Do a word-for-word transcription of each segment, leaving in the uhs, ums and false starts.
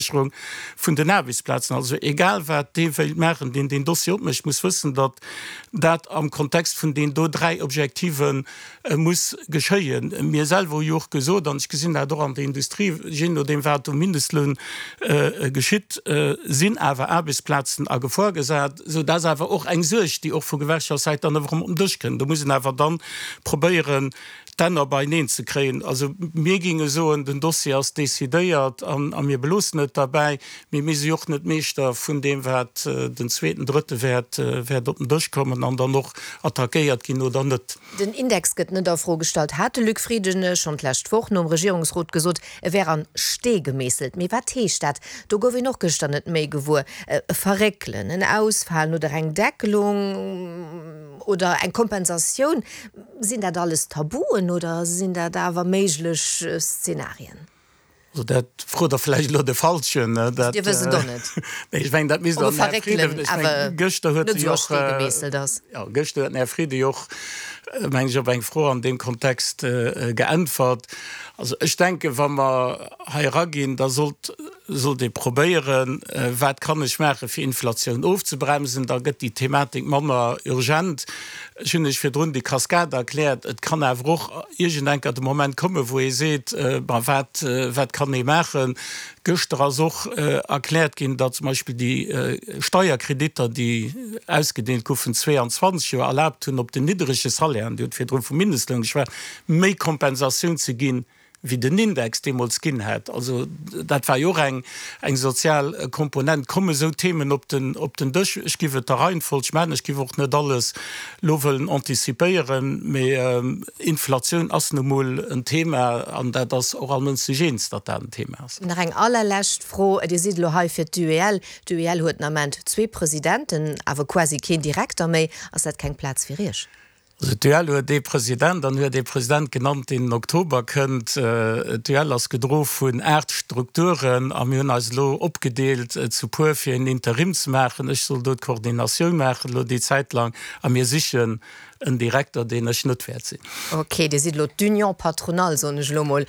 Sécherung vun den Aarbechtsplazen. Also egal wat dee wéilt maachen, deen deen Dossier opmécht, muss wëssen, datt dat am Kontext vun deenen do dräi Objektive muss geschéien. Mir selwer hu jo och gesot, an ech gesinn dat och an der Industrie, jee nodeem wat um Mindestloun geschitt, sinn awer Aarbechtsplazen a Gefor gesat. Sou, dat ass awer och eng Suerg, déi och vu Gewerkschaftssäit dann erëm op den Dësch kënnt. Do muss een awer dann probéieren, d'Enner beineen ze kréien. Also mir géinge soen, den Dossier ass decidéiert a mir beloossen et derbäi. Mee mir si jo och net Meeschter vun deem, wat den zweeten, drëtte wäert wäert op den Dësch kommen an dann och attackéiert ginn oder net. Den Index gëtt net a Fro gestallt, hat de Luc Frieden schonn d'lescht Woch nom Regierungsrot gesot. E wär an Stee gemeesselt. Mee wat heescht dat? Do gouf een och gëschter net méi gewuer. E Verréckelen, en Ausfalen oder eng Deckelung oder eng Kompensatioun? Sinn dat alles Tabuen oder sinn dat awer méiglech Szenarien? Also dat frot Der vläicht elo de Falschen. Dat, Dir wësst et och net. Nee, ech mengen, dat misst Ob e Der den Här Verréckelen Frieden, ech mengen, awer gëschter huet net e esou jo a och, Stee gemeesselt ass. jo, gëschter huet den Här Frieden jo och, mengen ech, op eng Fro an deem Kontext geäntwert. Also ech denken, wa mer hei eraginn, da sollt, sollt ee probéieren, wat kann ech maachen, fir Inflatioun ofzebremsen, da gëtt déi Thematik manner urgent. Ech hunn lech virdrun déi Cascade erkläert. Et kann awer och iergendenker de Moment kommen, wou ee seet, Ma wat, wat kann ee maachen? Gëschter ass och erkläert ginn, datt zum Beispill déi Steierkreditter, déi ausgedeelt goufen zweeanzwanzeg, jo erlaabt hunn, op den niddrege Salairen, Dir hutt virdru vum Mindestloun geschwat, méi Kompensatioun ze ginn, wéi den Index deemools ginn hätt. Also dat war jo och eng eng sozial Komponent. Komme sou Themen op den op den Dësch? Ech giff et der Reihenfolg maachen. Ech giff och net alles lo wëllen antizipéieren, mee Inflatioun ass nu mol en Thema an dat ass och all Mënsch sech eens, datt dat en Thema ass. Nach eng allerlescht Fro, Dir sidd elo hei fir d'UEL. D'UEL huet den Ament zwee Presidenten, awer quasi keen Direkter méi. Ass dat keng Plaz fir Iech? Also d'UEL huet ee President an huet ee President genannt, deen den Oktober kënnt. D'UEL ass gedro vun aacht Strukturen a mir hunn eis elo opgedeelt zu puer, fir een Interim ze maachen. Ech soll do d'Koordinatioun maachen elo déi Zäit lang a mir sichen en Direkter, deen ech net wäert sinn. Ok, Dir sidd elo d'Union patronale, soen ech elo mol,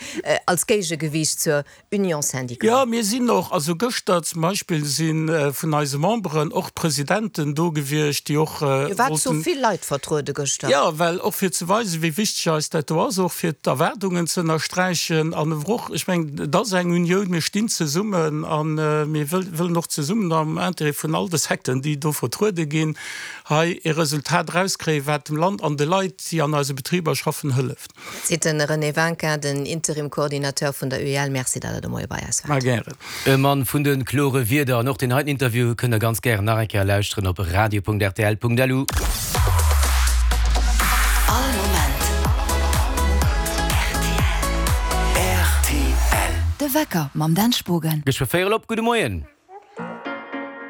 als Géigegewiicht zur Union syndicale. Jo, mir sinn och, also gëschter zum Beispill si vun eise Memberen och Presidenten do gewiescht, déi och Dir waart zu wollten. vill Leit vertruede gëschter. Jo, well och fir ze weisen, wéi wichteg eis dat do ass, och fir d'Erwaardungen ze ënnersträichen an ewer och, ech mengen, et ass eng Unioun, mir stinn zesummen a mir wëllen och zesummen am Intérêt vun all de Secteuren, déi do vertruede ginn, hei e Resultat erauskréien, wat dem Land an de Leit, déi an eise Betriber schaffen, hëlleft. Seet de René Winkin, den Interim-Coordinateur vun der UEL. Merci, datt Der de Moie bei eis Mar waart. gären. E Mann vun de klore Wierder. An och deen heiten Interview kënnt der ganz gären nach eng Kéier lauschteren op radio.rtl.lu. All Moment rtl. De Wecker mam Dan Spogen. Geschwë véierel op. Gudde Moien.